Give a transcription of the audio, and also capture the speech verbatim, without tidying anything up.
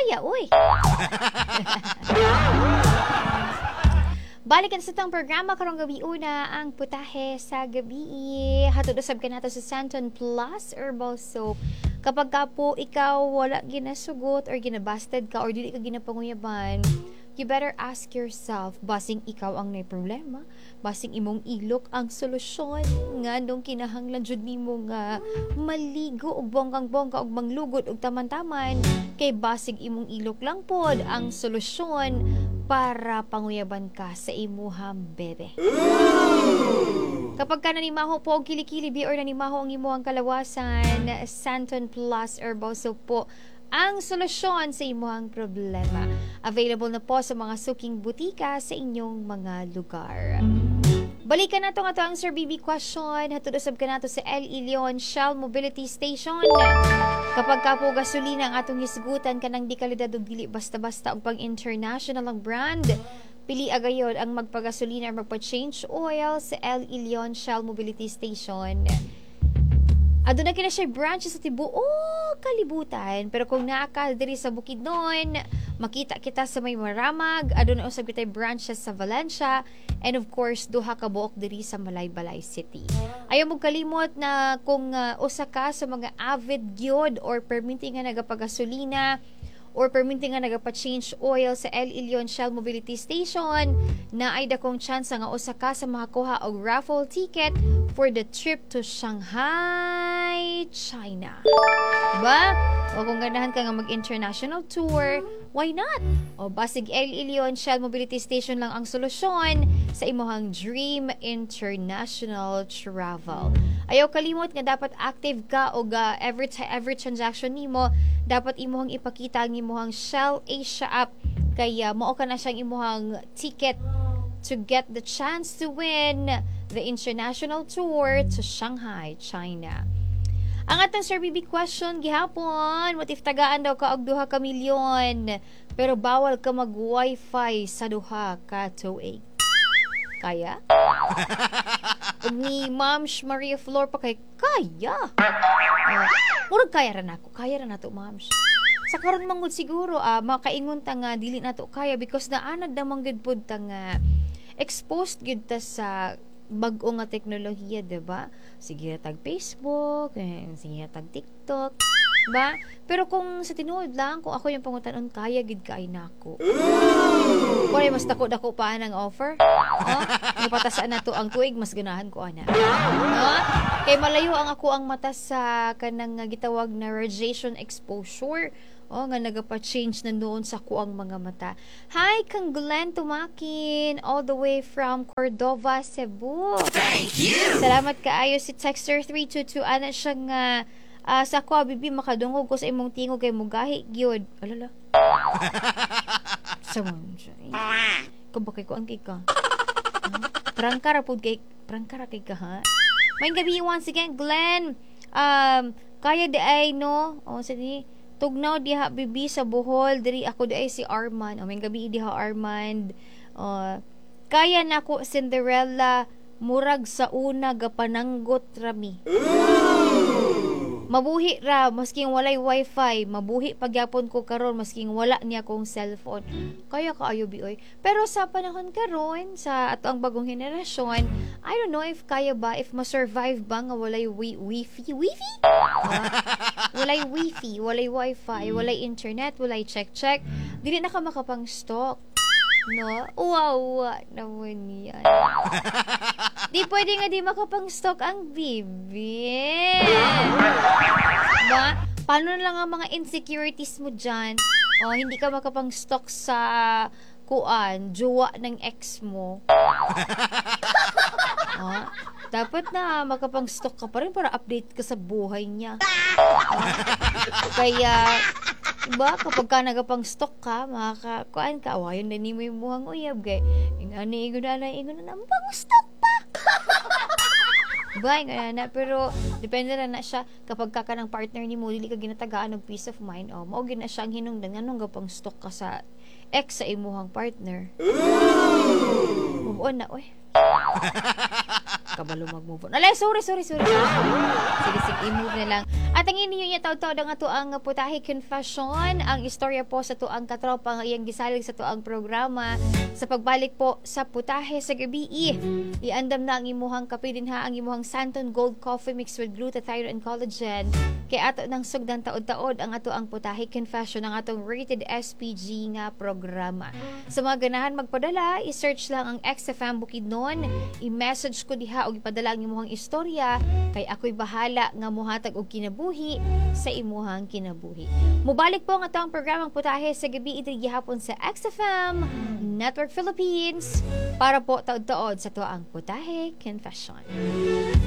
Kaya, uy. Balikan sa tong programa karong gabi una ang putahe sa gabi. Hatod usab kanato sa Santon Plus Herbal Soap. Kapag ka po ikaw wala ginasugot or ginabasted ka or dili ka ginapanguyaban, you better ask yourself, basing ikaw ang may problema, basing imong ilok ang solusyon, nga nung kinahanglan jud nimo nga maligo og bonggang-bongga og manglugod og taman-taman, kay basig imong ilok lang pod ang solusyon para panguyaban ka sa imuhang bebe. Kapag ka nanimaho po og kilikili bi or nanimaho ang imuhang kalawasan, Santon Plus Herbal Soap po ang solusyon sa imuhang problema. Available na po sa mga suking butika sa inyong mga lugar. Balikan nato nga to ang Sir B B question. Hatod usab kanato sa El Ilion Shell Mobility Station. Kapag ka po gasolina ang atong hisgutan, kanang di kalidad ug dili basta-basta og pang international ang brand, pili agayon ang magpagasolina or magpa-change oil sa El Ilion Shell Mobility Station. Aduna kina siya branch sa tibuok kalibutan. Pero kung naa ka diri sa Bukidnon, makita kita sa may Maramag, aduna usab kitay branches sa Valencia, and of course duha ka buok diri sa Malaybalay City. Ayaw mo kalimot na kung uh, usa ka sa mga avid gyud or perminti nga nagapagasolina or perminti nga nagapa-change oil sa El Ilion Shell Mobility Station, na ay dakong chance nga usa ka sa makakuha og raffle ticket for the trip to Shanghai, China. Diba? O kung ganahan ka nga mag-international tour, why not? O basig El Ilion Shell Mobility Station lang ang solusyon sa imuhang dream international travel. Ayaw kalimot nga dapat active ka og uh, every every transaction nimo dapat imuhang ipakita ang imuhang Shell Asia app kaya mao ka na siyang imuhang ticket to get the chance to win the international tour to Shanghai, China. Ang atong Sir B B question gihapon, what if tagaan daw ka og duha ka milyon pero bawal ka mag wifi sa duha ka tuig? Kaya? Ug ni Ma'am Maria Flor pa kay kaya. Uh, murag kaya ra nako, kaya ra nato, Ma'am. Sa karon man gud siguro ah, makaingon ta nga dili nato kaya because naanad naman gud pud ta nga exposed gud ta sa bag-o nga teknolohiya, 'di ba? Sige tag Facebook, eh, sige tag TikTok, ba? Pero kung sa tinuod lang, kung ako yung pangutanon, kaya gid kay nako. Wala, mas dako dako pa ang offer. Oh, ipatasaan na to ang tuig, mas ganahan ko ana. No? Kay malayo ang ako ang mata sa kanang gitawag na radiation exposure. Oh, nga nagapa-change na noon sa kuang mga mata. Hi, kang Glenn Tumakin, all the way from Cordova, Cebu. Thank you. Salamat kaayo. Si Texter three two two, ana siya nga uh, sa ako bibi, makadungog ko sa imong tingog kay mugahi gyud. Alala. Sa mo siya. Kung ba kay kuan kay ka? Huh? Prangka ra pud kay, prangka ra kay ka ha. May gabi once again, Glenn. Um, kaya di ay no. O sige. Tugnaw diha bibi sa Bohol, diri ako di ay si Armand. O may gabi diha, Armand. Uh, kaya nako, Cinderella, murag sa una gapananggot rami. Mabuhi ra masking walay wifi, mabuhi pagyapon ko karon masking wala niya kong cellphone. Kaya kaayo bi oy. Pero sa panahon karon sa ato ang bagong henerasyon, I don't know if kaya ba, if ma-survive ba nga walay wi wifi, wifi? Ah, walay wifi, walay wifi, walay internet, walay check-check. Dili na ka makapang-stalk. No? Wow, naman yan. Di pwede nga di makapang-stalk ang bibi. Ba? Paano na lang ang mga insecurities mo dyan? O, hindi ka makapang-stalk sa kuan, jowa ng ex mo. Oh, dapat na makapang-stalk ka pa rin para update ka sa buhay niya. Oh, kaya, diba, kapag ka nagapang-stalk ka, makaka, kuan ka, awayon na nimo yung muhang uyab, kay, ingani, ingon na, ingon na, pang-stalk pa! Diba, ingon na, pero, depende na na siya, kapag ka ka ng partner nimo, dili ka ginatagaan og peace of mind, oh, mao gina siya ang hinungdan, nganong gapang stalk ka sa ex sa imuhang partner. Move on na, oy. Kabalo mag-move on. Alay, sorry, sorry, sorry, sorry. Sige, sige, i-move na lang. At ang inyo niya taod-taod ang ato ang Putahe Confession, ang istorya po sa atuang katropa nga iyang gisalig sa atuang programa sa pagbalik po sa Putahe sa Gabi. Iandam na ang imuhang kape din ha, ang imuhang Santon Gold Coffee mixed with glutathione and collagen. Kay ato nang sugdan taod-taod ang ato ang Putahe Confession, ang atong rated S P G nga programa. Sa mga ganahan magpadala, i-search lang ang X F M Bukidnon, i-message ko diha og ipadala ang imuhang istorya kay ako'y bahala nga muhatag og kinabuhi sa imuhang kinabuhi. Mubalik po ang atong programang Putahe sa Gabi diri gihapon sa X F M Network Philippines para po taod-taod sa atoang Putahe Confession.